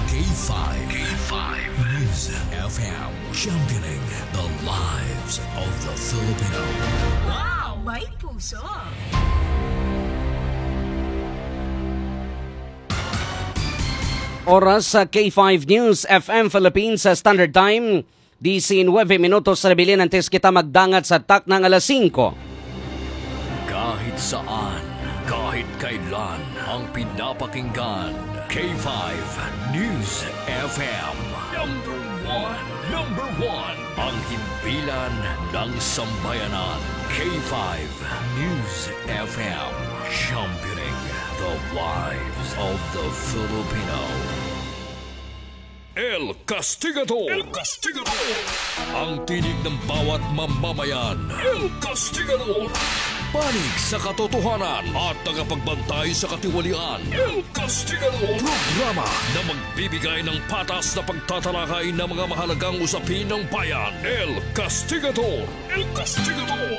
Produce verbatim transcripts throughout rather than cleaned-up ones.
K five, K five News F M, championing the lives of the Filipino. Wow! May puso! Oras sa K five News F M Philippines sa Standard Time. Diecinueve minutos na nabilin antes kita magdangat sa takna nga alas singko. Kahit saan, kahit kailan, ang pinapakinggan, K five News F M. Number one, number one, ang himpilan ng sambayanan. K five News F M, championing the lives of the Filipino. El Castigador. El Castigador. Ang tinig ng bawat mamamayan. El Castigador. Panig sa katotohanan at tagapagbantay sa katiwalian. El Castigador. Programa na magbibigay ng patas na pagtatalakay ng mga mahalagang usapin ng bayan. El Castigador. El Castigador.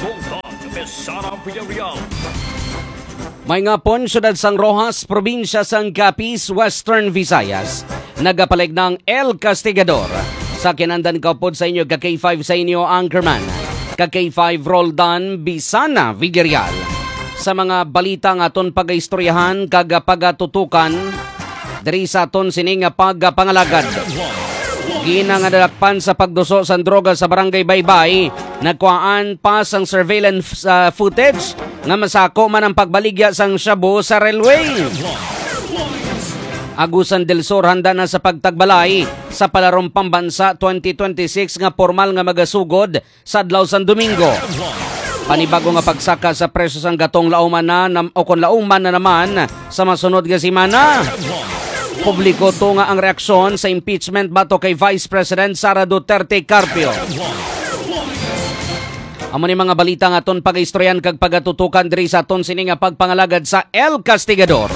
Bongga, Besara, Villarreal. May ngapon, Siyudad sang Roxas, Probinsya sang Capiz, Western Visayas. Nagapalig ng El Castigador. Sa kinandan kaupod sa inyo, ka K five sa inyo, Anchorman. Ka K five, Roldan Bisana Villarreal. Sa mga balita nga aton pagaistoryahan kag pagatutukan, diri sa aton sini nga pagpangalagad. Ginangadalakpan sa pagduso sang droga sa Barangay Baybay, nagkuhaan pa sang surveillance, ah, footage nga masako man ang pagbaligya sang shabu sa railway. Agusan del Sur handa na sa pagtagbalay sa Palarong Pambansa twenty twenty-six nga pormal nga magasugod sa adlaw sang Domingo. Panibago nga pagsaka sa presyo sang gatong lauman na nam-, o kon lauman na naman sa masunod nga semana. Publiko tunga ang reaksyon sa impeachment batok kay Vice President Sara Duterte Carpio. Amo ni mga balita nga aton pagaistoryahan kag pagatutukan diri sa aton sini nga pagpangalagad sa El Castigador.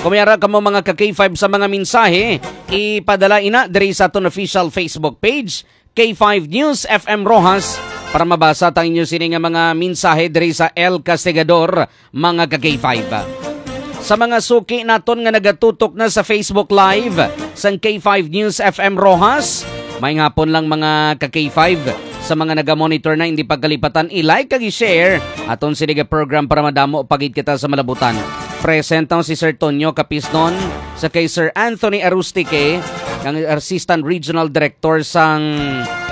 Kung may ara kamo mga ka K five sa mga mensahe, ipadala ina diri sa aton official Facebook page, K five News F M Roxas, para mabasa ta ang inyo sini nga mga mensahe diri sa El Castigador, mga ka K five. Sa mga suki naton nga nagatutok na sa Facebook Live sang K five News F M Roxas, may ngapon lang mga ka K five. Sa mga naga-monitor na, hindi pagkalipatan i-like kag i-share aton sini nga program para madamo pa gid kita sa malabutan. Present na si Sir Tonyo Capisnon, sa kay Sir Anthony Arustique, ang Assistant Regional Director sang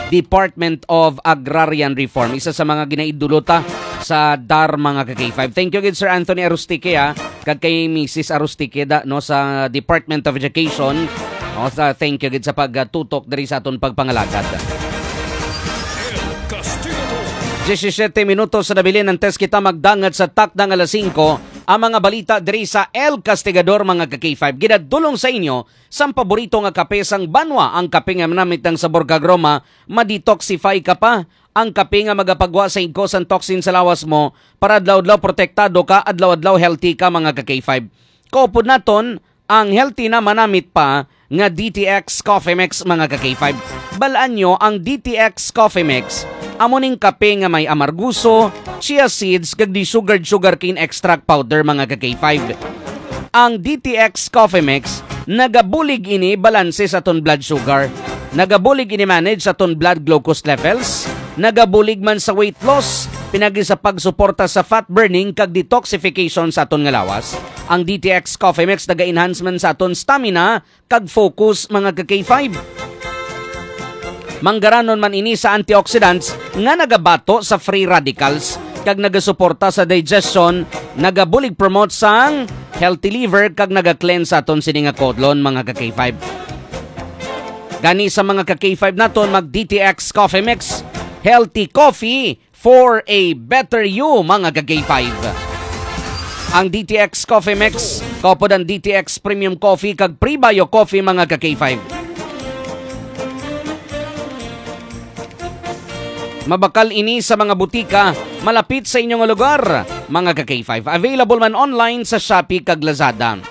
Department of Agrarian Reform. Isa sa mga ginaidolo ta sa dar, mga ka K five. Thank you gid, Sir Anthony Arustique, ha, kag kay Missus Arustique, da, no, sa Department of Education. O, sa, thank you gid sa pagtutok diri sa aton pagpangalagad. El Castigador. Diyesisiete minutos sa nabilin antes kita magdangat sa takna nga alas singko, ang mga balita diri sa El Castigador, mga ka K five. Ginadulong sa inyo sang paborito nga kape sang banwa, ang kape nga manamit ang sabor kag aroma, ma-detoxify ka pa. Ang kape nga magapagwa sa igko sang toxin sa lawas mo, para adlaw-adlaw protektado ka, adlaw-adlaw healthy ka, mga ka K five. Kaupod naton, ang healthy na manamit pa nga D T X Coffee Mix, mga ka K five. Balaan nyo ang D T X Coffee Mix. Amo ning kape nga may amarguso, chia seeds, kag di sugared sugarcane extract powder, mga ka K five. Ang D T X Coffee Mix, nagabulig ini balanse sa aton blood sugar. Nagabulig ini manage sa aton blood glucose levels. Nagabulig man sa weight loss, pinagi sa pagsuporta sa fat burning kag detoxification sa aton nga lawas. Ang D T X Coffee Mix naga-enhance man sa aton stamina kag focus, mga ka K five. Manggaranon man ini sa antioxidants nga nagabato sa free radicals kag nagasuporta sa digestion, nagabulig promote sang healthy liver kag naga-cleanse sa aton sini nga kodlon, mga ka K five. Gani sa mga ka K five naton, mag D T X Coffee Mix, healthy coffee for a better you, mga ka K five. Ang D T X Coffee Mix, kaupod ang D T X Premium Coffee kag Prebio Coffee, mga ka K five. Mabakal ini sa mga butika malapit sa inyo nga lugar, mga ka K five. Available man online sa Shopee kag Lazada.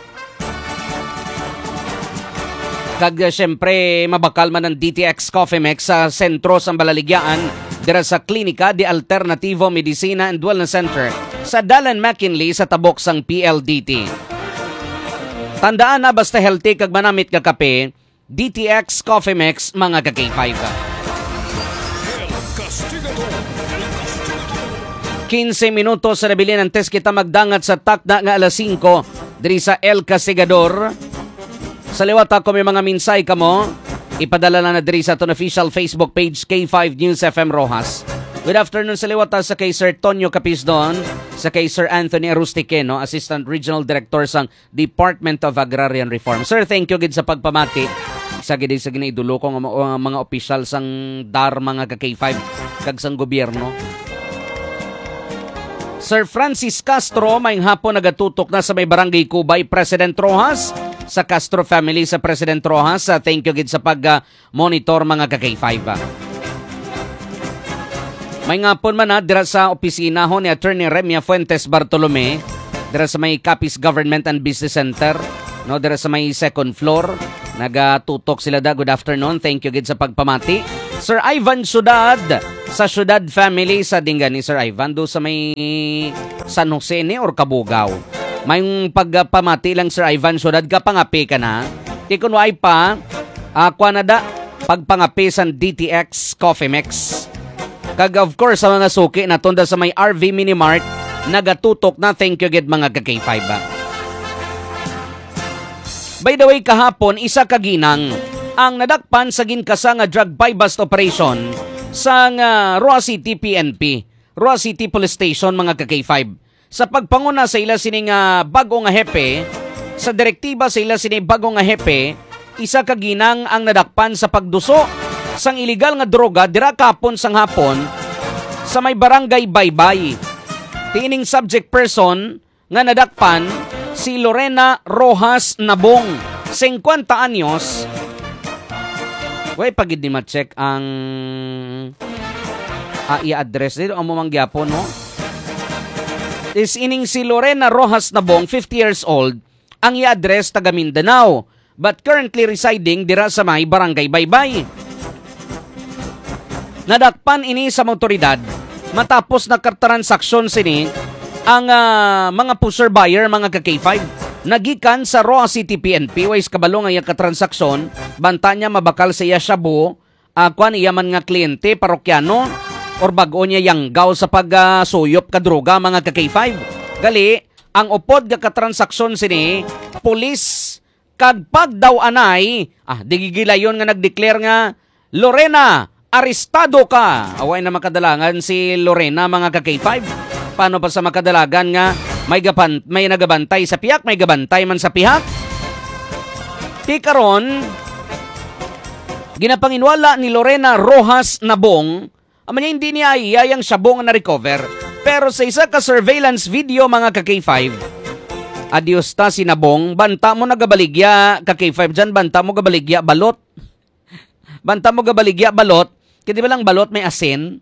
Kag, eh, siyempre, mabakal man ang D T X Coffee Mix sa sentro sang Balaligyaan, dira sa Klinika de Alternativo Medicina and Wellness Center. sa Dalan McKinley sa tabok sang P L D T. Tandaan na, basta healthy kag manamit nga kape, D T X Coffee Mix, mga ka-K five. Quince minutos sa nabilin antes kita magdangat sa takna nga alas singko diri sa El Castigador. Sa liwat, ako may mga mensahe kamo, ipadala lang na diri sa aton official Facebook page, K five News F M Roxas. Good afternoon sa liwat, sa kay Sir Tonyo Capisdon, sa kay Sir Anthony Arustiqueno, Assistant Regional Director sang Department of Agrarian Reform. Sir, thank you gid sa pagpamati. Sa gid sa ginaidolo ko nga mga, mga opisyal sang dar, mga ka-K five, kag sang gobyerno. Sir Francis Castro, may hapon nagatutok na sa may Barangay Cubay, President Roxas. Sa Castro family sa President Roxas, ah, thank you gid sa pag, ah, monitor, mga ka-K five, ah. May ngapon man na dira sa opisina ho ni Attorney Remia Fuentes Bartolome, dira sa may Capiz Government and Business Center, no, dira sa may second floor. Nagatutok sila da. Good afternoon. Thank you gid sa pagpamati. Sir Ivan Sudad, sa Sudad family, sa dinggan ni Sir Ivan, do sa may San Jose ni or Cabugao. May pagpamati lang, Sir Ivan Sudad, kapangapi ka na. Di kun waay pa, ah, kwa na da, pagpangapi sang D T X Coffee Mix. Kag of course, sa mga suki na tunda sa may R V Mini Mart, nagatutok na. Thank you gid, mga ka-K five, ah. By the way, kahapon, isa ka ginang ang nadakpan sa ginkasa nga drug buy-bust operation sang, ah, Roxas City P N P, Roxas City Police Station, mga ka-K five. Sa pagpanguna sa ila sini nga bag-o nga hepe, sa direktiba sa ila sini bag-o nga hepe, isa ka ginang ang nadakpan sa pagduso sang iligal nga droga dira kahapon sang hapon sa may barangay Baybay. Tiining subject person nga nadakpan si Lorena Roxas Nabong, singkwenta anyos. Way pa gid ni ma-check ang, ah, iya address dito. Amo man gyapon, no? Is ining si Lorena Roxas Nabong, fifty years old, ang iya address taga Mindanao, but currently residing dira sa may Barangay Baybay. Nadakpan ini sa mga otoridad matapos nakatransaksyon sini ang, ah, mga pusher buyer, mga ka-K five. Nagikan sa Roxas City P N P, way sa kabalo nga iya katransaksyon, banta niya mabakal sa iya shabu, ah, kwan, iya man nga kliyente, parokyano, or bag-o niya yanggaw sa pag, ah, suyop ka droga, mga ka-K five. Gali, ang upod nga katransaksyon sini, pulis kag pagdaw-anay, ah, di gigilayon nga nag-declare nga, "Lorena, arestado ka!" Away na makadalangan si Lorena, mga ka-K five. Paano pa sa makadalagan nga may gapan-, may nagabantay sa pihak, may gabantay man sa pihak? Ti karon, ginapanginwala ni Lorena Roxas Nabong, amo niya, hindi niya iya yang shabu nga na-recover. Pero sa isa ka surveillance video, mga ka-K five, adios ta si Nabong, banta mo nagabaligya, ka-K five dyan, banta mo gabaligya balot. Banta mo gabaligya balot. Kaya di ba lang balot may asin?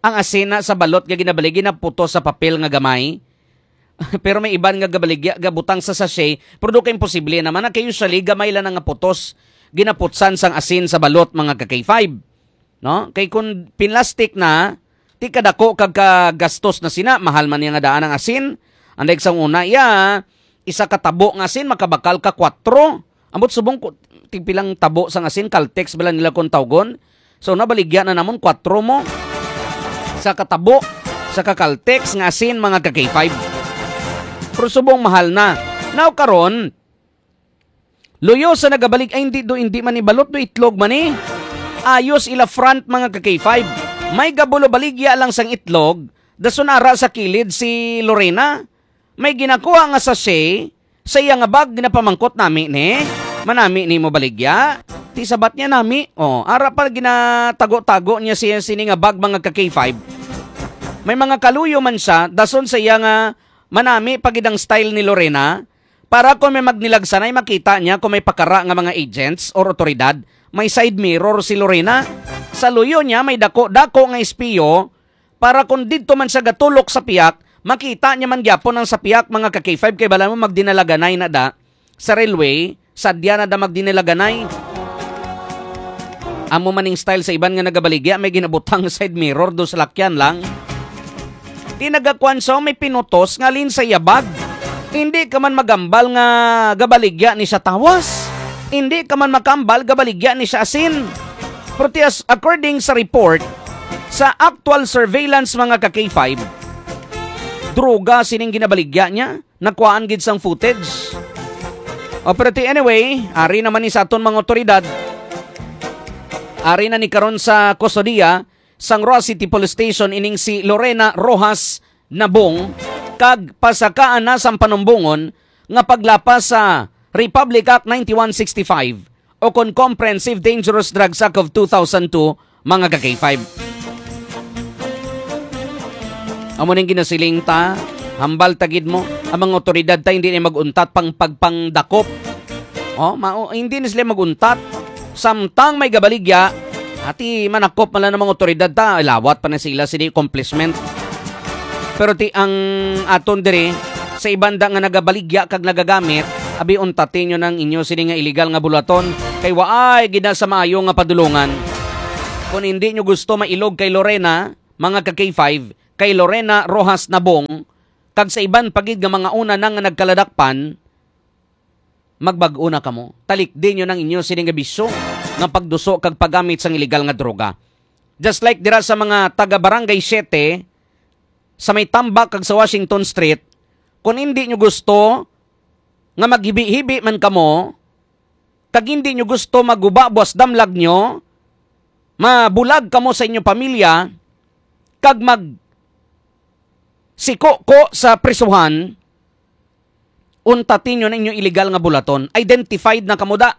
Ang asin na sa balot nga ginabaligya, ginaputos sa papel nga gamay. Pero may iban nga gabaligya, gabutang sa sachet, pero do ka imposible naman na kay usually gamay lang nga putos, ginaputsan sang asin sa balot, mga ka-K five. No? Kay kung pinlastik na, ti kadako kag kagastos na sina, mahal man niya nga daan ang asin. Anday sang una, iya, isa ka tabo nga asin, makabakal ka kwatro. Ambot subong ko, tigpilang tabo sang asin, Caltex bala nila kung tawgon. So, nabaligya na namon kwatro mo. Sa katabo, sa ka-Caltex nga asin, mga ka-K five. Pero subong mahal na. Now, karon, luyo sa nagabalig, ay, hindi do, hindi man ni balot do, itlog man ni. Ayos ila front, mga ka-K five. May gabulo baligya lang sang itlog, dason ara sa kilid si Lorena. May ginakuha nga sachet sa iya nga bag, ginapamangkot nami ni. "Manami nimo baligya?" Ti sabat niya, "Nami." Oh, ara pa ginatago-tago niya siya sini nga bag, mga ka-K five. May mga kaluyo man siya, dason sa iya nga manami pa gid ang style ni Lorena. Para kung may magnilagsanay, makita niya kung may pakara nga mga agents or otoridad, may side mirror si Lorena. Sa luyo niya, may dako-dako nga espiyo, para kung didto man siya gatulok sa piyak, makita niya man gyapon ang sa piyak, mga ka-K five, kay bala mo magdinalaganay na da sa railway, sadya na da magdinalaganay. Amo maning style sa iban nga nagabaligya, may ginabutang side mirror do sa lakyan lang. Di nagakuan siya, may pinutos nga halin sa iya bag. Hindi ka man magambal nga gabaligya ni siya tawas. Hindi ka man makambal gabaligya ni siya asin. Pero ti as-, according sa report, sa actual surveillance, mga ka K five, droga sining ginabaligya niya, nakuhaan gid sang footage. O, pero ti anyway, ari naman ni sa aton mga otoridad. Ari na ni karon sa kustodiya sang Roxas City Police Station ining si Lorena Rojas Nabong, kag pasakaan na sang panumbongon nga paglapas sa Republic Act ninety-one sixty-five o kon Comprehensive Dangerous Drugs Act of two thousand two, mga ka K five. Amo ning ginasiling ta, hambal ta gid mo, ang mga otoridad ta hindi na mag-untat pang pagpangdakop. Oh, mao, hindi na sila mag-untat. Samtang may gabaligya, ati manakop man lang ang mga otoridad ta, lawat pa na sila sini accomplishment. Pero ti ang aton diri, sa iban da nga nagabaligya kag nagagamit, abi, untatin nyo nang inyo sini nga illegal nga bulaton, kay waay gid na sa maayo nga padulungan. Kung hindi nyo gusto mailog kay Lorena, mga ka K five, kay Lorena Rojas Nabong, kag sa iban pa gid nga mga una na nga nagkaladakpan, magbag-o na kamo. Talikdi nyo nang inyo sini nga bisyo nga pagduso kag paggamit sang illegal nga droga. Just like dira sa mga taga Barangay Siete, sa may Tambak kag sa Washington Street, kung hindi nyo gusto nga maghibi-hibi man kamo, kag hindi nyo gusto maguba buas damlag nyo, mabulag kamo sa inyo pamilya, kag mag siko-ko sa prisuhan, untatin nyo na inyo illegal nga bulaton. Identified na kamo da.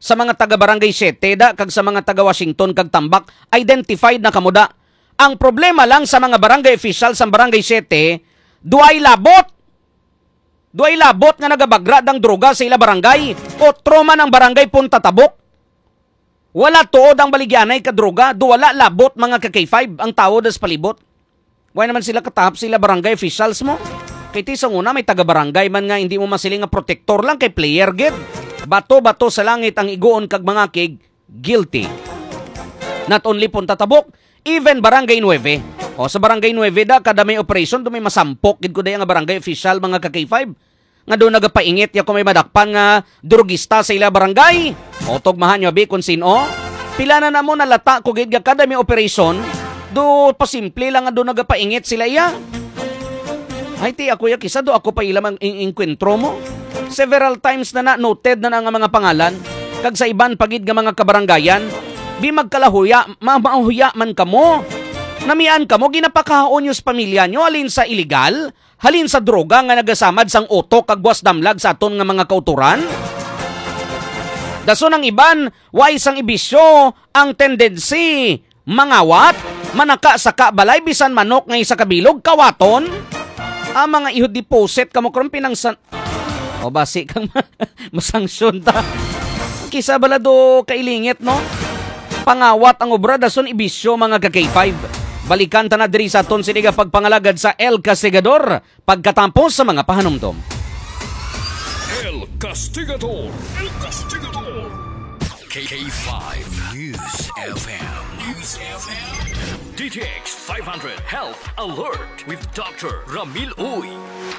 Sa mga taga Barangay Siete da, kag sa mga taga Washington kag Tambak, identified na kamo da. Ang problema lang sa mga barangay official sa Barangay Siete, duay labot. Duay labot nga nagabagra dang droga sa ila barangay. Otro man ang barangay Punta Tabok. Wala tuod ang baligyanay ka droga, do wala labot, mga ka K five, ang tawo das palibot. Wala naman sila katahap sila barangay officials mo. Kay ti sa una, may taga-barangay man nga hindi mo masiling nga protektor lang kay player gid. Bato-bato sa langit ang iguon kag mga kig guilty. Not only Punta Tabok, even Barangay Nueve. O, sa Barangay Nueve da, kada may operation, do may masampok gid ko daya nga barangay official, mga ka K five. Nga do nagapaingit ya kung may madakpan nga drugista sa ila barangay. O, tugmahan nyo, abi, kung sino. Pila na namo nalata ko gid nga kada may operation, do pasimple lang nga do nagapaingit sila iya. Ay, ti ako ya, kisa do ako pa ila mang ing-, engkwentro mo. Several times na na noted na na nga mga pangalan, kag sa iban pa gid nga mga kabarangayan, di magkalahuya, ma-, mahuya man kamo. Namian kamo, ginapakahaon nyo sa pamilya nyo, halin sa iligal, halin sa droga nga nagasamad sang utok kag buas damlag sa aton nga mga kautoran? Dason ang iban, way sang ibisyo ang tendency mangawat, manaka-saka balay, bisan manok nga isa ka bilog, kawaton. Ah, mga ihod, deposit kamo karon pinangsan-, o basi kang ma-, masanksyon ta. Kisa bala do kailingit, no? Pangawat ang obra, dason ibisyo, mga ka K five. Balikan ta na diri sa aton sini nga pagpangalagad sa El Castigador, pagkatapos sa mga pahanumdom. El Castigador. El Castigador. K five News F M. News F M. D T X five hundred Health Alert with Doctor Ramil Uy.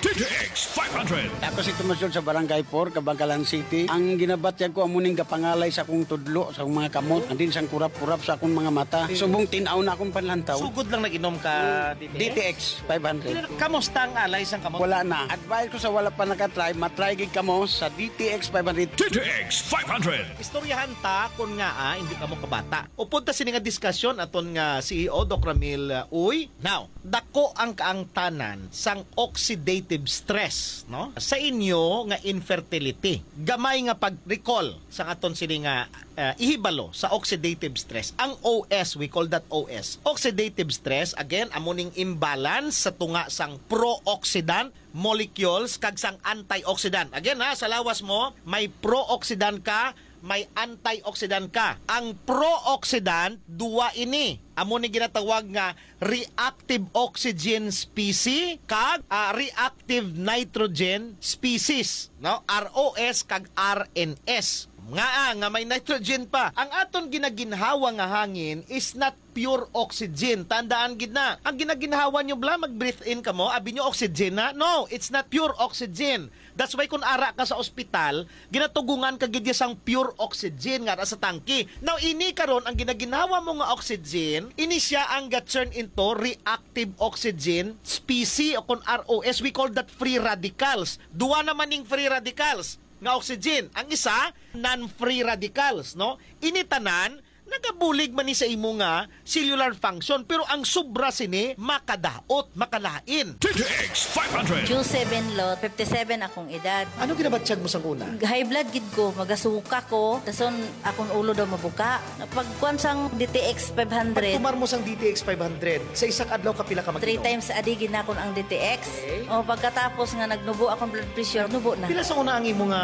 D T X five hundred. Ako si Tomas Yun sa Barangay four, Kabankalan City. Ang ginabatyag ko amo ning gapangalay sa akong tudlo, sa akong mga kamot, and then sang kurap-kurap sa akong mga mata. Subong tin-aw na akong panlantaw. Sugod lang nag-inom ka, D T X? D T X five hundred. Kamusta ang alay sang kamot? Wala na. Advice ko sa wala pa nakatry, matry gid kamo sa D T X five hundred. D T X five hundred. Istoryahan ta kon ngaa hindi kamo kabata. Upod ta sini nga diskasyon aton nga C E O, Doc Ramil, uh, Uy. Now, dako ang kaangtanan sang oxidative stress, no? Sa inyo nga infertility. Gamay nga pag-recall sang aton sini nga, uh, ihibalo sa oxidative stress. Ang O S, we call that O S. Oxidative stress, again, amo ning imbalance sa tunga sang pro-oxidant molecules kag sang antioxidant. Again, ha, sa lawas mo, may pro-oxidant ka, may antioxidant ka. Ang pro-oxidant, duwa ini. Amo ni ginatawag nga reactive oxygen species kag, ah, reactive nitrogen species, no? R O S kag R N S. Nga, ah, nga may nitrogen pa. Ang aton ginaginhawa nga hangin is not pure oxygen. Tandaan gid na. Ang ginaginhawa nyo bala, mag-breathe in kamo, abi nyo oxygen na. No, it's not pure oxygen. That's why kung ara ka sa ospital, ginatugungan ka gid sang pure oxygen nga ara sa tangke. Now, ini karon ang ginaginhawa mo nga oxygen, ini siya ang ga-turn into reactive oxygen species o kung R O S, we call that free radicals. Duwa naman ning free radicals nga oxygen. Ang isa, non-free radicals, no? Ini tanan, nagabulig man ni sa imo nga cellular function, pero ang sobra sini makadaot, makalain. D T X five hundred. Q seven lot, fifty-seven akong edad. Ano ginabatyag mo sang una? High blood gid ko, magasuka ko, dason akong ulo daw mabuka. Pagkuan sang D T X five hundred, Pagtumar mo sang D T X five hundred, sa isa ka adlaw kapila ka mag-inom? Three times a day ginakon ang D T X. Okay. O pagkatapos nga nagnubo akong blood pressure, nubo na. Pila sa una ang imo nga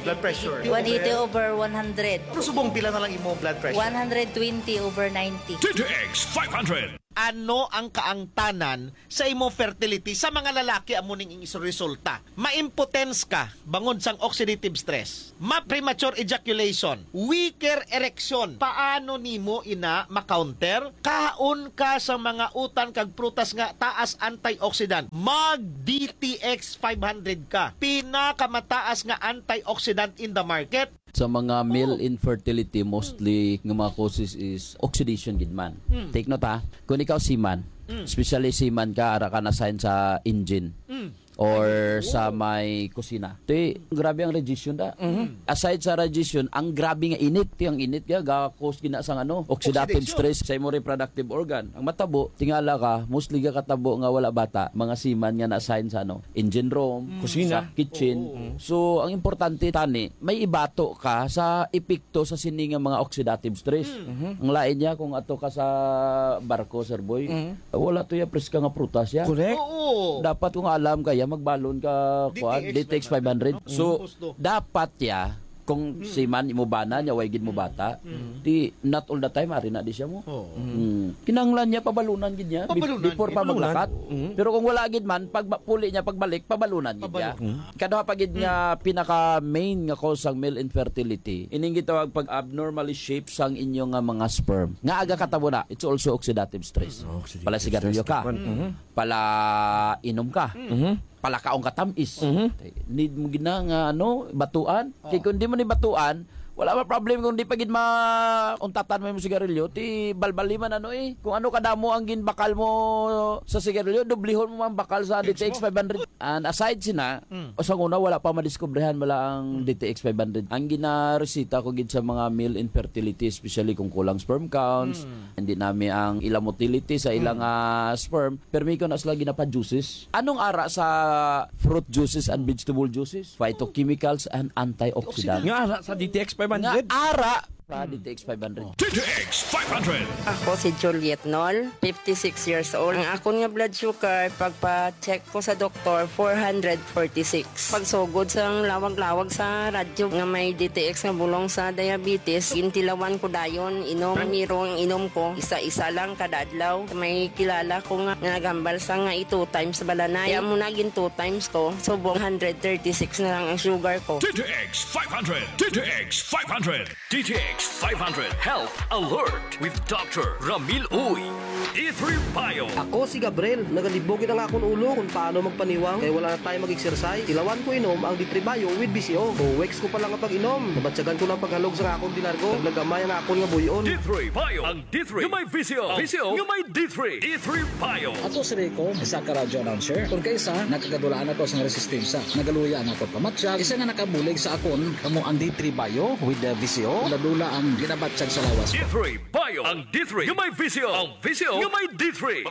blood pressure? One eighty over one hundred. Pero subong pila na lang imo blood pressure? One hundred twenty over ninety. D T X five hundred. Ano ang kaangtanan sa imong fertility? Sa mga lalaki, amo ning is-, resulta. Ma-impotence ka bangod sang oxidative stress. Ma-premature ejaculation. Weaker erection. Paano nimo ina ma-counter? Kaon ka sa mga utan kag prutas nga taas antioxidant. Mag D T X five hundred ka. Pinakamataas nga antioxidant in the market. Sa mga male infertility, mostly nga mga causes is oxidation gid man. Take note ha, kung ikaw seaman, especially seaman ka, ara ka na sign sa engine or sa may kusina. Ti, grabe ang radiation da. Aside sa radiation, ang grabe nga init, ti ang init nga ga-cause gina sang ano, oxidative Oxidation. Stress sa imo reproductive organ. Ang matabo, tingala ka, mostly ga katabo nga wala bata, mga seaman nga na-assign sa ano, engine room, Kusina. Sa kitchen. So, ang importante tani, may ibato ka sa epekto sa sini nga mga oxidative stress. Ang lain niya kung ato ka sa barko, Sir Boy, wala to ya preska nga prutas ya. Correct. Oo. Dapat kung alam kaya magbalon ka kuan, D T X D T X five hundred. So, Gusto. Dapat ya kung seaman imo bana niya way gid mo bata, di not all the time ari na di siya mo. Oo. Mm. Kinahanglan niya pabalunan gid niya be- Pabalunan before gid. pa Pabalunan. maglakat. Mm. Pero kung wala gid man, pag ba- puli niya pagbalik, pabalunan gid niya. Pabalunan. Kada pa gid nga pinaka main nga cause sang male infertility, ining gitawag pag abnormally shaped sang inyo nga mga sperm. Nga aga katabo na, it's also oxidative stress. Oxidative Pala sigarilyo stress, ka, man. Mhm. pala inom ka, Mhm. pala kaong katamis. Mhm. Need mo gid na nga ano, batuan. Kay kung di mo ni batuan, wala ba problem kung di pa gid ma untatan mo yung sigarilyo, ti balbali man ano eh. Kung ano kadamo ang ginbakal mo sa sigarilyo, dublihon mo man bakal sa D T X five hundred. And aside sina, o sa una wala pa madiskubrihan wala ang D T X five hundred. Ang ginaresita ko gid sa mga male infertility, especially kung kulang sperm counts, hindi nami ang ila motility sa ilang ah, sperm, permi ko na sila ginapa-juices. Anong ara sa fruit juices and vegetable juices? Phytochemicals and antioxidants. Nga ara sa D T X five hundred. Nga ara sa D T X five hundred. D T X five hundred. Ako si Juliet Nol, fifty-six years old. Ang akon nga blood sugar, pagpa-check ko sa doktor, four hundred forty-six. Pagsugod sa lawag-lawag sa radyo nga may D T X nga bulong sa diabetes, gintilawan ko dayon, inom, miro ang inom ko, isa-isa lang kada adlaw. May kilala ko nga, nga nagambal sa nga i-two times balanay. Kaya mo na gin two times ko, subong hundred thirty-six na lang ang sugar ko. D T X five hundred. D T X five hundred. D T X five hundred Health Alert with Doctor Ramil Uy. D three Bio. Ako si Gabriel. Nagalibog gid ang akon ulo kung paano magpaniwang kay wala na tayo mag-exercise. Tilawan ko inom ang D three Bio with V C O. Two weeks ko pa lang ang pag-inom. Nabatyagan ko ng paghalog sa akon di largo. Naglagamay ang akon nga buyon. D three Bio. Ang D three nga may V C O. V C O nga may D three. D three Bio. Ako si Rico, isa ka radio announcer. Kung kaisa, nakagadulaan ako sa resistensya. Nagaluya ang akon pamatyag. Isa nga nakabulig sa akon, kamo ang D three Bio with the V C O. Dula-dula ang ginabatyag sa lawas. D three Bio. Ang D three nga may V C O. Ang V C O nga may D three.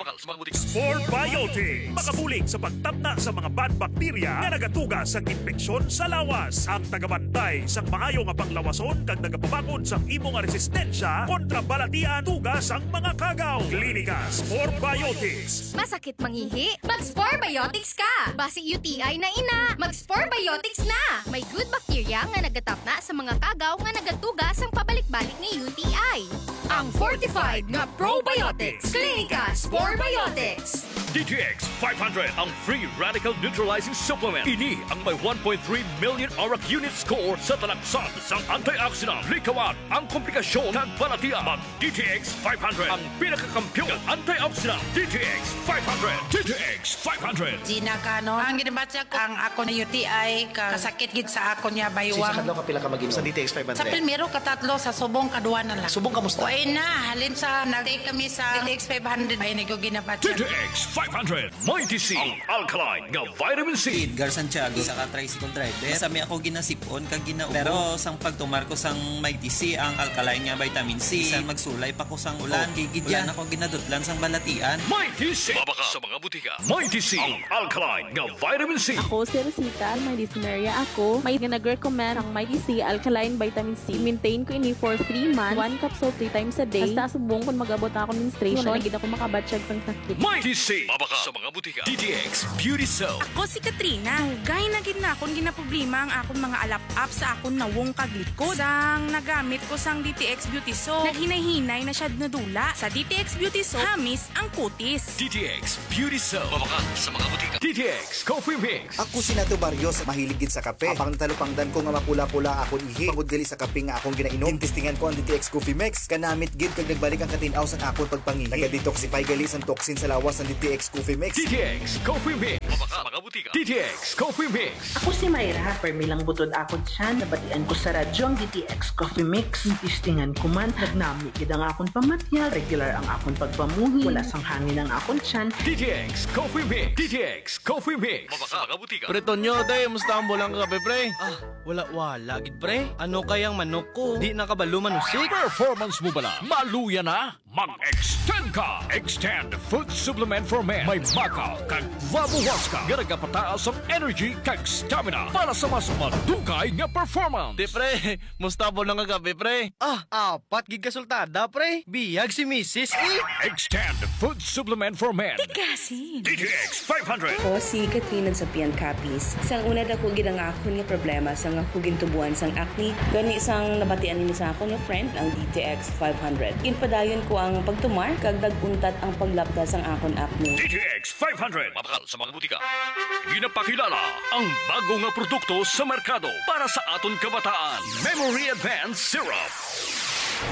Spore Biotics. Makabulig sa pagtapna sa mga bad bacteria nga nagatuga sa infeksyon sa lawas. Ang tagabantay sa maayo nga panglawason kag nagapabangon sa imo nga resistensya kontra balatian tuga sang mga kagaw. Klinika Spore Biotics. Masakit mangihi? Mag-Spore Biotics ka! Basi U T I na ina, mag-Spore Biotics na! May good bacteria nga nagatapna sa mga kagaw nga nagatuga sang pabalik-balik nga U T I. Ang fortified nga probiotics. Klinika Spore Biotics. D T X five hundred, ang free radical neutralizing supplement. Ini ang may one point three million arak unit score sa talaksan sang antioxidant. Likawan ang komplikasyon kag balatian. Mag D T X five hundred, ang pinakakampiyon nga antioxidant. D T X five hundred. D T X five hundred. Gina Canon. Ang ginabatya ko, ang ako na U T I, ka-, kasakit gid sa ako niya, Sinsa baywang. Kadlaw ka pila ka mag-inom? Sa D T X five hundred. Sa primero, katatlo, sa subong, kadua na lang. Subong, kamusta? Way na, halin sa nag-take kami sa D T X five hundred, ay, nag-, ginabatya. D T X five hundred, Mighty C, ang alkaline nga vitamin C. Edgar Santiago, isa ka tricycle driver. Sa mi ako ginasipon kag gina-, pero sang pagtumar ko sang Mighty C, ang alkaline nga vitamin C, bisan magsulay pa ko sang ulan, Oh. Kay gid wala yan. Na ko ginadutlan sang balatian. Mighty C. Mabaka sa mga butika. Mighty C, ang alkaline nga vitamin C. Ako si Rosita, may dysmenorrhea ako. May nag-recommend ang Mighty C alkaline vitamin C. Maintain ko ini for three months, one capsule three times a day. Hasta subong kung mag-abot na akong menstruation, wala na gid ako makabatsyag sang sakit. Mighty C, mabaka sa mga butika. D T X Beauty Soap. Ako si Katrina. Dugay na gid na akong ginaproblema ang akon mga alap-ap sa akon nawong kag likod. Sang nagamit ko sang D T X Beauty Soap, naghinay-hinay na siya nadula. Sa D T X Beauty Soap, hamis ang kutis. D T X Beauty Soap. Mabakal sa mga butika. D T X Coffee Mix. Ako si Nato Barrios, mahilig gid sa kape. Habang natalupangdan ko nga mapula-pula akon ihi, bangod gali sa kape nga akong ginainom, gintistingan ko ang D T X Coffee Mix. Kanamit gid kag nagbalik ang katin-aw sang akon pagpangihi. Naga-detoxify gali sang toxin sa lawas ang D T X Coffee Mix. D T X Coffee Mix. Mabakal sa mga butika. D T X Coffee Mix. Ako si Myra, permi lang butod akon tiyan, nabatian ko sa radyo ang D T X Coffee Mix. Gistingan ko man, nagnami gid ang akon pamatiag, regular ang akon pagpamuhi, wala sang hangin ang akon tiyan. D T X Coffee Mix. D T X Coffee Mix. Mabakal sa mga butika. Pre Tonyo, day, musta ang bulang kape, pre? Ah, wala-wala gid, pre. Ano kayang manok ko? Di na kabalo manusik. Performance mo bala? Maluya na? Mag-extend ka! Extend Food Supplement for Men. May maca kag guava huasca nga nagapataas ang energy kag stamina para sa mas madugay nga performance. Di, pre, musta po nang kagabi, pre? Ah, apat gid ka sultada, pre. Biyag si misis, eh. Extend Food Supplement for Men. Tigasin. D T X five hundred. Ako si Katrina Sapian Capiz. Sang una, dako gid ang akon nga problema sang ako gintubuan sang acne. Gani, sang nabatian ini sa akon nga friend, ang D T X five hundred. Ginpadayon ko ang pagtumar kag nag-untat ang paglapda sang akon acne. D T X five hundred. Mabakal sa mga butika. Ginapakilala ang bago nga produkto sa merkado para sa aton kabataan. Memory Advance Syrup.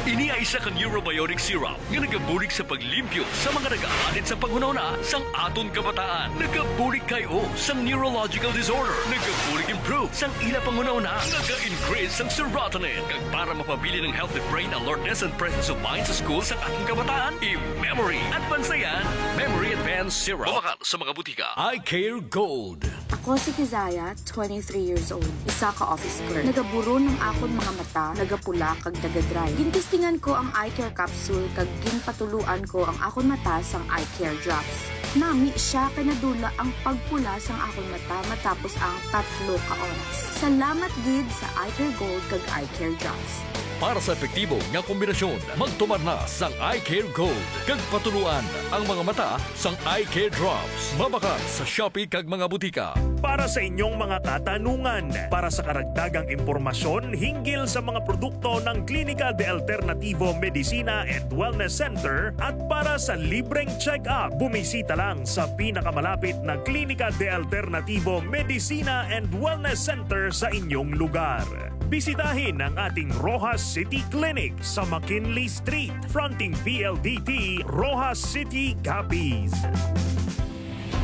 Ini ay isa ka neurobiotic syrup nga nagabulig sa paglimpyo sa mga nagaalit sa panghunahuna sang aton kabataan. Nagabulig kay o sang neurological disorder. Nagabulig improve sang ila panghunahuna. Naga-increase sang serotonin. Kag para mapabilin ang healthy brain alertness and presence of mind sa school sang aton kabataan, i-memory at bansayan, Memory Advance Syrup. Mabakal sa mga butika. Eye Care Gold. Ako si Kizaya, twenty-three years old, isa ka office clerk. Nagaburon ang akon mga mata, nagapula kag nagadry. Gintistingan ko ang eye care capsule kag ginpatuluan ko ang akon mata sang eye care drops. Nami siya kay nadula ang pagpula sang akon mata matapos ang tatlo ka oras. Salamat gid sa Eye Care Gold kag Eye Care Drops. Para sa epektibo nga kombinasyon, magtumar na sang Eye Care Gold kag patuluan ang mga mata sang Eye Care Drops. Mabakal sa Shopee kag mga butika. Para sa inyong mga katanungan, para sa karagdagang impormasyon hinggil sa mga produkto ng Klinika de Alternativo Medicina and Wellness Center at para sa libreng check-up, bumisita lang sa pinakamalapit na Klinika de Alternativo Medicina and Wellness Center sa inyong lugar. Bisitahin ang ating Roxas City Clinic sa McKinley Street, fronting P L D T, Roxas City, Capiz.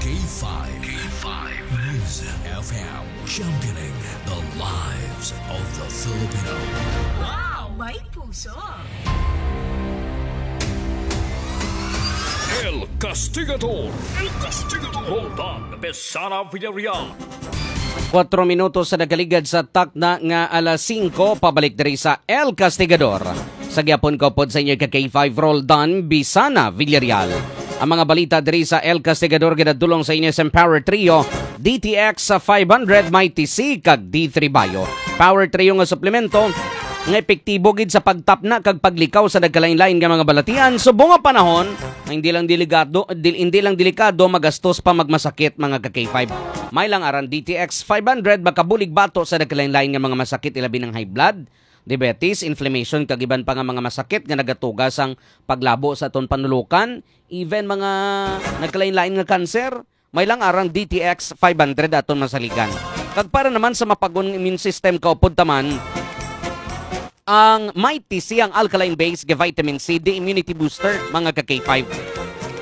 K five. K five News F M, championing the lives of the Filipino. Wow, may puso! El Castigador. El Castigador. Roldan Besana Villarreal. Kuwatro minutos sa nagaligad sa takna nga alas singko, pabalik diri sa El Castigador. Sa gihapon, kaupod sa inyo ka K five Roldan Bisana Villarreal. Ang mga balita diri sa El Castigador ginadulong sa inyo sa Empower Trio, D T X five hundred, Mighty C, kag D three Bio. Power Trio nga suplemento nga epektibo gid sa pagtapna kag paglikaw sa nagkalain-lain nga mga balatian. Subong nga panahon, hindi lang delikado, dil-, hindi lang delikado, magastos pa, magmasakit, mga ka K five. May lang aran D T X five hundred, makabulig bato sa nagkalain-lain nga mga masakit, ilabi ng high blood, diabetes, inflammation, kag iban pa nga mga masakit nga nagatuga sang paglabo sa aton panulukan, even mga nagkalain-lain nga kanser. May lang arang D T X five hundred aton masaligan. Kag para naman sa mapagon nga immune system, kaupod taman ang Mighty C, ang alkaline base nga vitamin C, the immunity booster, mga ka K five.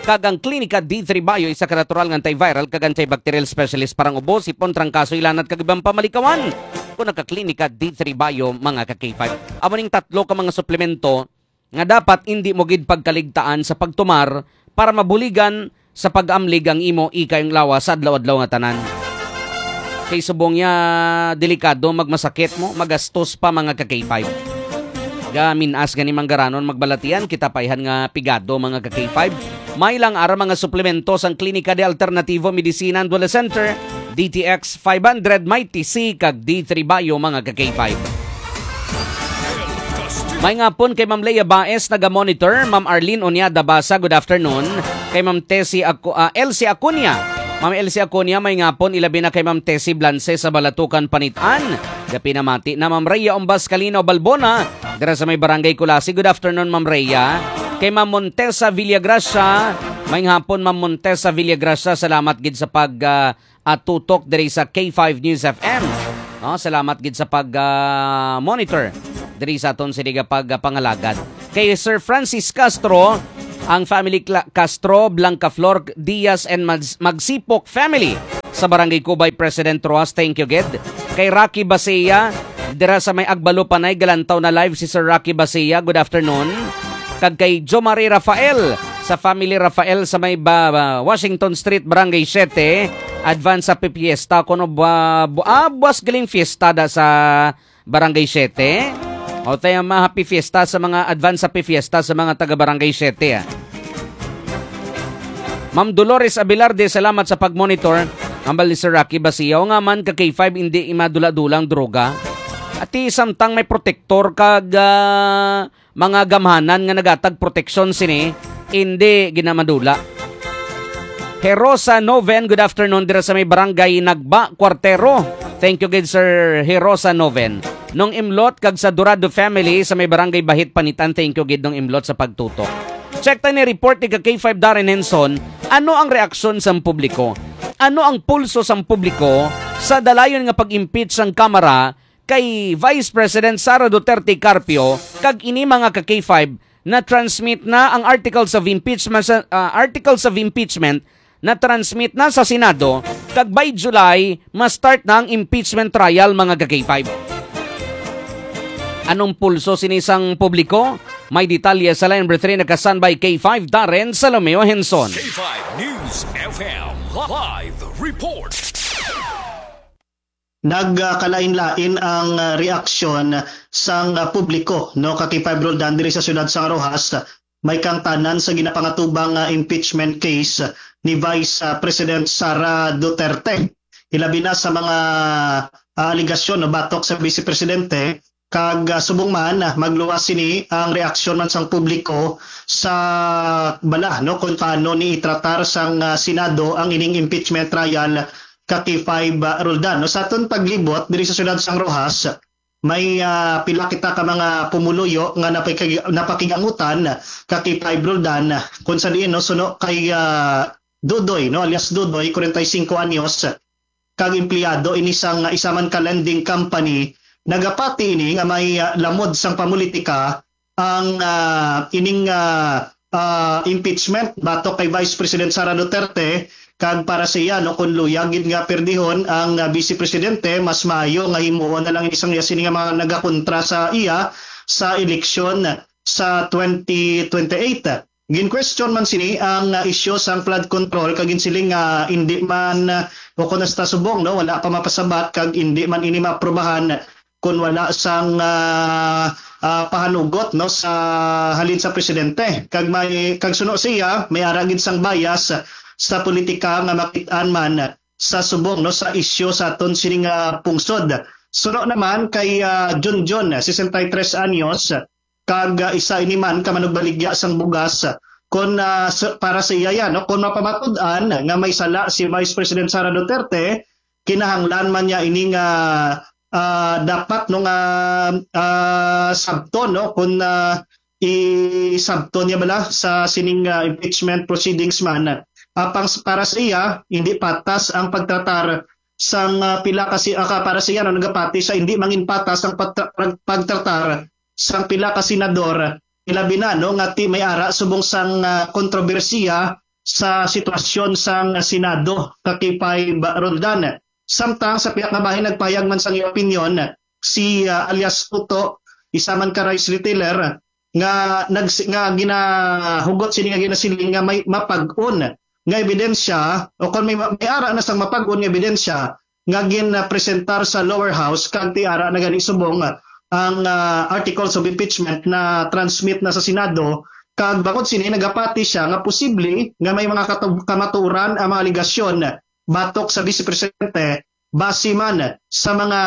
Kag ang Klinika D three Bio, isa ka natural nga antiviral kag antibacterial specialist para ang ubo, sipon, trangkaso, ilanat, kag ibang pamalikawan. Kung naka-Klinika D three Bio, mga ka K five. Amo ning tatlo ka mga suplemento nga dapat indi mo gid pagkaligtaan sa pagtumar para mabuligan sa pag-amlig ang imo ikayong lawas sa adlaw-adlaw nga tanan. Kay subong niya delikado, magmasakit mo, magastos pa, mga ka K five. Gaminas gani manggaranon, magbalatian kita paihan nga pigado, mga ka K five. May lang ara mga suplemento sang Klinika de Alternativo Medicina and Wellness Center, D T X five hundred, Mighty C, kag D three Bio, mga ka K five. May ngapon kay Ma'am Lea Baez, naga-monitor. Ma'am Arlene Onyada Basa, good afternoon. Kay Ma'am Tessie Acu-, ah, Elsie Acuña. Ma'am Elsie Acuña, may ngapon, ilabi na kay Ma'am Tessie Blanse sa Balatukan, Panitan. Gapinamati na Ma'am Rhea Umbas Kalinaw Balbona, dira sa may Barangay Culasi. Good afternoon, Ma'am Rhea. Kay Ma'am Montesa Villagracia, may ngapon, Ma'am Montesa Villagracia, salamat gid sa pag, ah, ah, tutok diri sa K five News F M. No, salamat gid sa pag, ah, monitor diri sa aton sini nga pag, ah, pangalagad. Kay Sir Francis Castro, ang family Cla-, Castro, Blanca Flor Diaz and Mag-, Magsipok family sa Barangay Cubay, President Roxas, thank you gid. Kay Rocky Basia, dira sa may Agbalupanay, galantaw na live si Sir Rocky Basia. Good afternoon. Kag kay Jo Marie Rafael, sa family Rafael sa may ba, ba, Washington Street, Barangay Siete. Advance Happy Fiesta kuno ba, bu-, ah, buwas galing fiesta da sa Barangay Siete. O tayo, ma, Happy Fiesta sa mga, advance Happy Fiesta sa mga taga Barangay Siete, ah. Ma'am Dolores Abelarde, salamat sa pag-monitor. Hambal ni Sir Rocky Basia, o nga man ka K five, hindi madula-dula ang droga. Ati samtang may protektor kag, ah, mga gamhanan nga nagatag proteksyon sini, hindi ginamadula. Herosa Noven, good afternoon dira sa may Barangay Nagba, Cuartero. Thank you gid, Sir Herosa Noven. Nung Imlot kag sa Dorado family sa may Barangay Bahit, Panitan, thank you gid, Nung Imlot, sa pagtutok. Check tayo ni report ni ka K five Darren Henson. Ano ang reaksyon sang publiko? Ano ang pulso sang publiko sa dalayon nga pag-impeach sang Kamara kay Vice President Sara Duterte Carpio, kag ini, mga ka K five, na-transmit na ang articles of impeachment sa, ah, articles of impeachment na-transmit na sa Senado, kag by July ma-start na ang impeachment trial, mga ka K five. Anong pulso sini sang publiko? May detalye sa line number three, naka-standby K five Darren Salomeo Henson. K five News F M live report. Nagkalain-lain ang, ah, reaksyon sang, ah, publiko, no, ka K five Roldan diri sa siyudad sang Roxas, may kangtanan sa ginapangatubang, ah, impeachment case ni Vice, ah, President Sara Duterte. Ilabi na sa mga, ah, alegasyon, no, batok sa Vice Presidente, kag, ah, subong man, ah, magluwas sini ang reaksyon man sang publiko sa bala, no, kung paano ni itratar sang, ah, Senado ang ining impeachment trial ka K five, ah, Roldan. No, sa aton paglibot diri sa siyudad sang Roxas, may, ah, pila kita ka mga pumuluyo nga napakig-, napakigangutan ka K five Roldan, kung sa diin, no, suno kay, ah, Dudoy, no, alias Dudoy, kwarenta y singko anyos, kag empleyado ini sang isa man ka lending company, nagapati ini nga may, ah, lamod sang pamulitika ang, ah, ining, ah, ah, impeachment batok kay Vice President Sara Duterte, kag para sa iya, no, kung luya gid nga perdihon ang, ah, Vice Presidente, mas maayo nga himuon na lang ini sang iya sini nga mga nagakontra sa iya sa eleksyon sa twenty twenty-eight. Gin-question man sini ang, ah, isyu sang flood control, kag ginsiling nga indi man, ah, o kung hasta subong, no, wala pa mapasabat kag indi man ini maaprubahan kon wala sang, ah, ah, pahanugot, no, sa halin sa presidente. Kag may, kag suno siya, may ara gid sang bias sa politika nga makit-an man sa subong, no, sa isyu sa aton sini nga pungsod. Suno naman kay, ah, Junjun, sesenta y tres anyos, kag, ah, isa ini man ka manugbaligya sang bugas. Kon, ah, sa, para sa iya yan, no, kon mapamatud-an nga may sala si Vice President Sara Duterte, kinahanglan man niya ini nga ah, dapat, no, nga, ah, sabton, no, kung, ah, isabton niya bala sa sining, ah, impeachment proceedings man. Apang s-, para sa iya, hindi patas ang pagtratar sang, ah, pila ka si-, ah, ka-, para sa iya, no, nagapati siya, hindi mangin patas ang pagtra-, pag-, pagtratar sang pila ka senador, ilabi na, no, nga ti may ara subong sang, ah, kontrobersiya sa sitwasyon sang Senado, ka K five Roldan. Samtang sa pihak nga bahin, nagpahayag man sang iya opinyon si, ah, alias Tuto, isa man ka rice retailer, nga nags-, nga ginahugot sini nga ginasiling nga may mapag-on nga ebidensya, o kon may ma-, may ara na sang mapag-on nga ebidensya nga ginpresentar sa lower house, kag ti ara na gani subong ang, ah, articles of impeachment na transmit na sa Senado, kag bangod sini nagapati siya nga posible nga may mga katu-, kamatuoran ang mga alegasyon batok sa Vice Presidente base man sa mga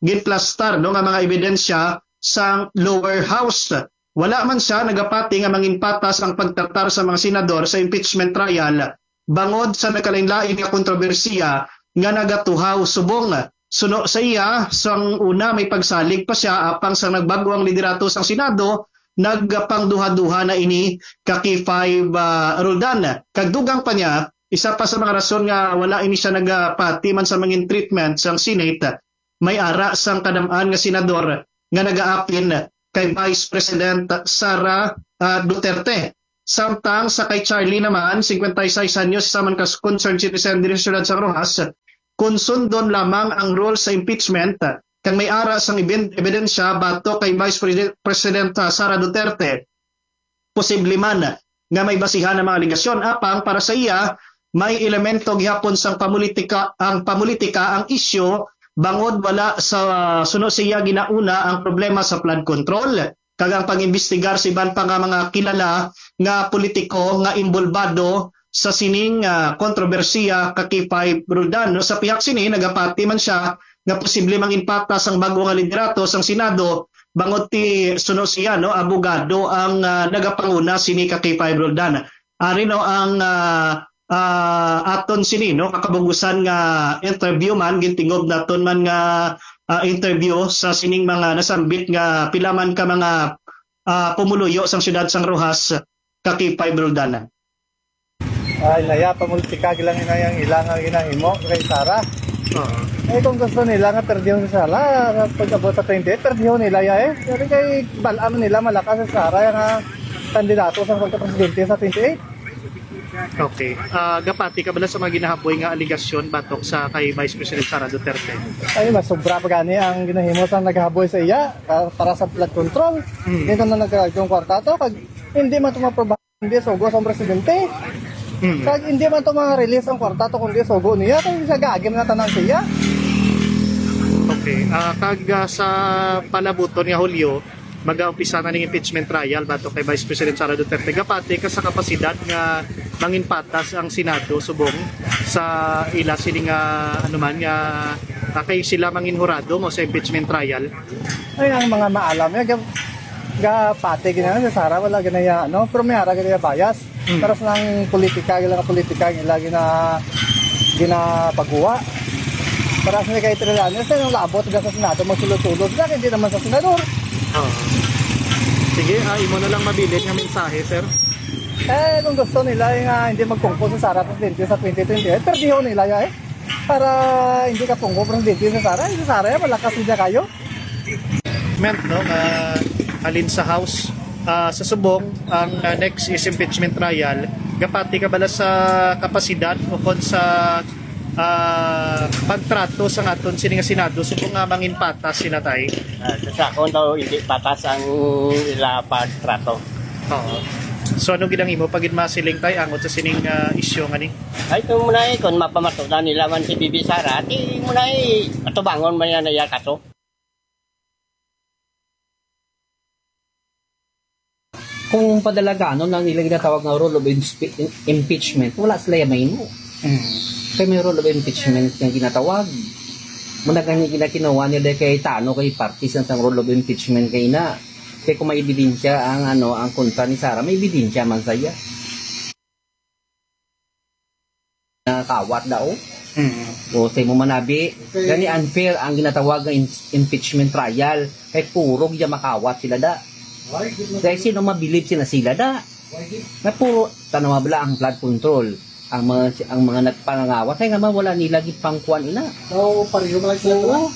ginplastar, no, nga mga ebidensya sang lower house. Wala man siya nagapati nga mangin patas ang pagtratar sa mga senador sa impeachment trial bangod sa nagkalainlain nga kontrobersiya nga nagatuhaw subong. Suno sa iya, sang una may pagsalig pa siya, apang sang nagbag-o ang liderato sang Senado, nagpangduha-duha na ini ka K five, ah, Roldan. Kag dugang pa niya, isa pa sa mga rason nga wala ini siya nagapati man sa mangin treatment sang Senate, may ara sang kadam-an nga senador nga nagaapin kay Vice President Sara, ah, Duterte. Samtang sa kay Charlie naman, singkwenta y seis anyos, isa man ka concerned citizen diri sa siyudad sang Roxas, kon sundon lamang ang rules sa impeachment kag may ara sang eben-, ebidensya batok kay Vice Presi-, President, ah, Sara Duterte, posible man nga may basihan ang mga alegasyon. Apang para sa iya, may elemento gihapon sang pamulitika, ang pamulitika ang isyu, bangod wala sa, suno sa iya, ginauna ang problema sa flood control kag ang pag-imbestigar sa iban pa nga mga kilala nga politiko nga inbolbado sa sining, ah, kontrobersiya ka K five Roldan. No, sa pihak sini, nagapati man siya nga posible mangin patas ang bag-o nga liderato sang Senado, bangod ti suno siya, no, abogado ang, ah, nagapanguna sini ka K five Roldan. Ari, no, ang, ah, ah, aton sini, no, kakabugusan nga interview man, gintingob naton man nga, ah, interview sa sining mga nasambit nga pila man ka mga, ah, pumuluyo sang siyudad sang Roxas ka K five Roldan. Ay, naya, pamulitika lang ina yang ila nga ginahimo kay Sara. Oo. Eh, kung gusto nila nga perdihon si Sara, pag-abot sa twenty-eight, perdihon nila ya eh. Pero kay bal-am nila malakas si Sara nga kandidato sa pagka-presidente sa twenty-eight. Okay. Ah, gapati ka bala sa mga ginahaboy nga aligasyon batok sa kay Vice President Sara Duterte? Ay, mas sobra pa gani ang ginahimo sa naghaboy sa iya, ah, para sa flood control. Mm. Dito na nagkaroon kwarta to, pag hindi man ito maprobahan, hindi sugo sa presidente. Mm. Kag hindi man ito mga release ang kwarta to, kundi sugo niya, kay siya gagim na tanan siya. Okay. Ah, kag, ah, sa palabuton nga Hulyo, mag-aumpisa na ning impeachment trial batok kay Vice President Sara Duterte. Gapati ka sa kapasidad nga mangin patas ang Senado subong sa ila sini nga, ano man, nga, ah, kay sila mangin hurado mo sa impeachment trial? Ay, ang mga maalam, eh, ga-, gapati gina si Sara, wala gina ya, no? Pero may ara gina ya bias. Mm. Para sa nang politika, gila nga politika, gila gina-, ginapaguwa. Para sa kay Trillanes, sa nang labot, sa Senado, magsulod-sulod. Sa hindi naman sa senador. Oo. Sige, ah, imo na lang mabilin nga mensahe, sir. Eh, kung gusto nila, eh, nga hindi magpungko si Sara Presidente sa twenty twenty-eight, perdihon nila ya, eh. Para hindi ka pungko Presidente si Sara, eh, si Sara, eh, malakas siya kayo. Ment, no, nga halin sa House, ah, sa subong, ang, ah, next is impeachment trial. Gapati ka bala sa kapasidad o kon sa, ah, pagtrato sa aton sini nga Senado subong nga mangin patas sila, tay? Ah, sa akon daw, hindi patas ang ila pagtrato. Oo. So, ano gid ang imo pa gid masiling, tay, angot sa sining, ah, isyu nga ni? Ay, ito muna eh, kung mapamatudan nila man si Bibi Sara, di muna eh, atubangon man yan na iya kaso. Kung padalaganon ang ila ginatawag nga rule of inspe-, impeachment, wala sila ya mahimo. Mm. Kay may rule of impeachment nga ginatawag. Muna gani ginakinuha nila kay tano kay parties ang sang rule of impeachment kay na. Kay kung may ebidensya ang, ano, ang kontra ni Sara, may ebidensya man saya. Nakawat daw. Mm. O sa imo manabi, gani unfair ang ginatawag nga im- impeachment trial. Kay puro gid makawat sila da. Kay sino mabilib sila sila da? Na puro tanawa bala ang flood control. Ang mga ang mga nagpangangawat kay nga man wala nila gipangkuan ina. So, pareho man lang sila. Oo.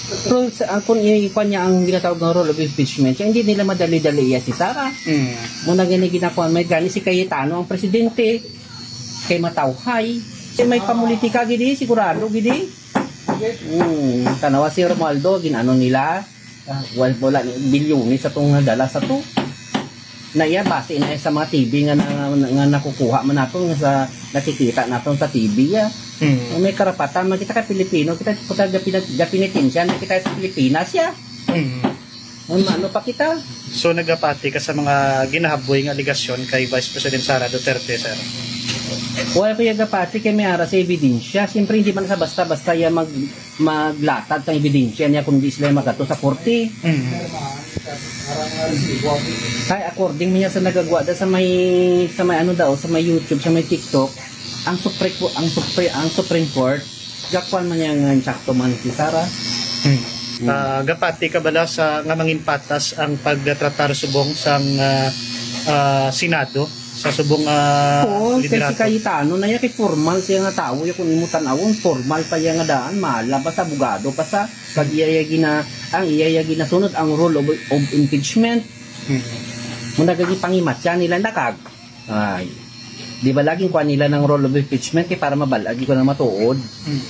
Pero sa, ang kung ikuan niya ang ginatawag nga rule of impeachment, siya, hindi nila madali-dali iya si Sara. Mm. Muna gani ginakuan may gani si Cayetano ang presidente kay matawhay. Kay may pamulitika gidi, sigurado gidi. Hmm, tanawa si Romualdo, ginano nila. Ah, wal wala ni bilyones sa tong nadala sa to. Na iya base na sa mga T V nga, na, nga nakukuha man nato nga sa nakikita nato sa T V ya. Mm. May karapatan man kita kay Pilipino, kita kita gapinat- gapinitensya na kita sa Pilipinas ya. Mm. Ano, ano pa kita? So nagapati ka sa mga ginahaboy nga alegasyon kay Vice President Sara Duterte, sir? Wala ko yung gapati kay may ara sa ebidensya. Siyempre hindi man sa basta-basta ya mag maglatag sa ebidensya niya kung di sila magato sa korte. Mm. Kay according niya sa nagagwa da sa may sa may ano daw sa may YouTube, sa may TikTok, ang Supreme ang Supreme ang Supreme Court gakuan man niya nga insakto man si Sara. Mm. Ah, gapati ka bala sa nga mangin patas ang pagtratar subong sang ah, ah, Senado sa subong ah, Oo, kay si liderato? Cayetano na iya kay formal siya nga tawo ya kung imo tan-awon, formal pa iya nga daan, mala pa sa abogado pa sa pag iya iya gina ang iya iya ginasunod ang rule of, of impeachment. Mm. Muna gagi pangimatya nila nakag. Ay. Di ba laging kuha nila ng rule of impeachment kay para mabal-ag ko na matuod. Mm.